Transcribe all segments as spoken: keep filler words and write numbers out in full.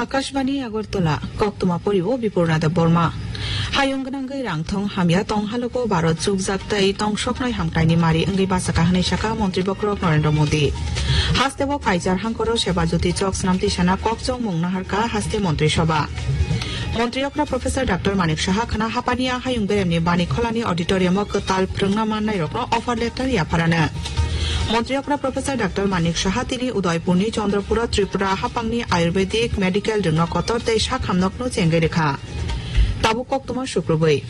Akashbani Agartala, koktwma poriwo Bipurna Debbarma. Hayung gwnangwi rang thong hamya tong halogo Bharat chukjak tei tong soknai hamkraini mari wngwi bachaka hwnwi saka Montri Bokhorok Narendra Modi. Hasteo Kaichar hangkoro Seba Jyoti chok snamti sana kokchong mung naharka haste Montri Sabha. Montri okra Professor Doctor Manik Saha khna hapania hayung beremni bani kholani auditorium o kwtal phrwngna mannai rokno offer letter yapharano. Montri okra Professor Doctor Manik Saha tini Udaipurni Chandrapura Tripura hapangni Ayurvedic Medical Rwngno kotor tei sakhamnokno chengwi rwkha. Tabuk koktwma sukrubwi.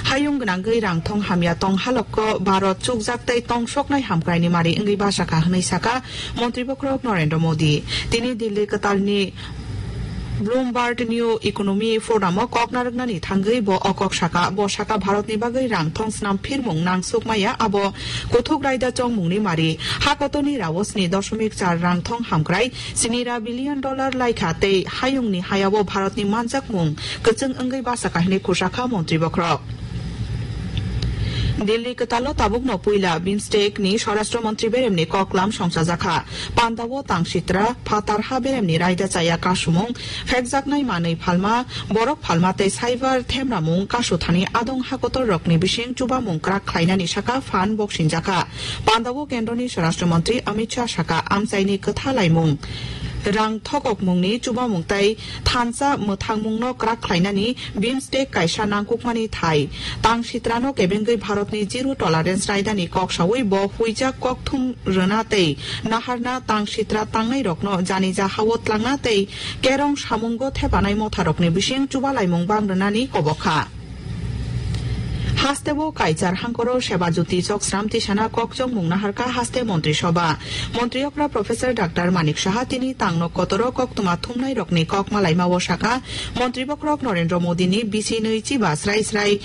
Hayung gwnangwi rang thong hamya tong halokko Bharat chukjak tei tong soknai hamkraini mari wngwi bachaka hwnwi saka Montri Bokhorok Narendra Modi. Tini Delhi kwtalni Bloomberg New Economy Forum o kok narwknani thangwi bo o kok saka. Bo saka Bharatni bagwi rang thong snam phirmung nangsuk maya abo kuthuk raida chongmungni mari. Ha kotorni rao sni dosmik char rang thong hamkrai, sini ra billion dollar laikha tei hayungni hayao Bharatni manjakmung kwchwng wngwi bachaka hwnwi khusakha Montri Bokhorok. Delhi kwtalo tabukno puila bimstek ni Swarashtra Montri beremni koklam songchajakha. Pandao tang sitra phatar ha beremni raida chaya kasumung, phekjaknai manwi phalma, borok phalma tei cyber themramung kasuthani adong hakotor rokni bising chubamung kwrak khlainani saka phan boksinjakha. Pandao kendroni Swarashtra Montri Amit Shah saka amchaini kwtha laimung, rang thokokmungni chubamung tei thansa mwthangmungno kwrak khlainani bimstek kaisa nangkukmani thai. Tang sitrano kebengwi Bharatni zero tolerance raidani kok saui bo huijak kokthum rwna tei naharna tang sitra tangnai rokno jani ja hao tlangna tei kerong samungo thepanai motha rokni bising chubalaimung bang rwnani kobokha. Hasteo Kaichar hangkoro Seba Jyoti chok sram tisana kokchong mung naharka haste Montri Sabha. Montri okra Professor Doctor Manik Saha tini tangno kotoro koktwma thumnai rokni kok malaimao saka, Montri Bokhorok Narendra Modi ni bisi nwi chiba srai srai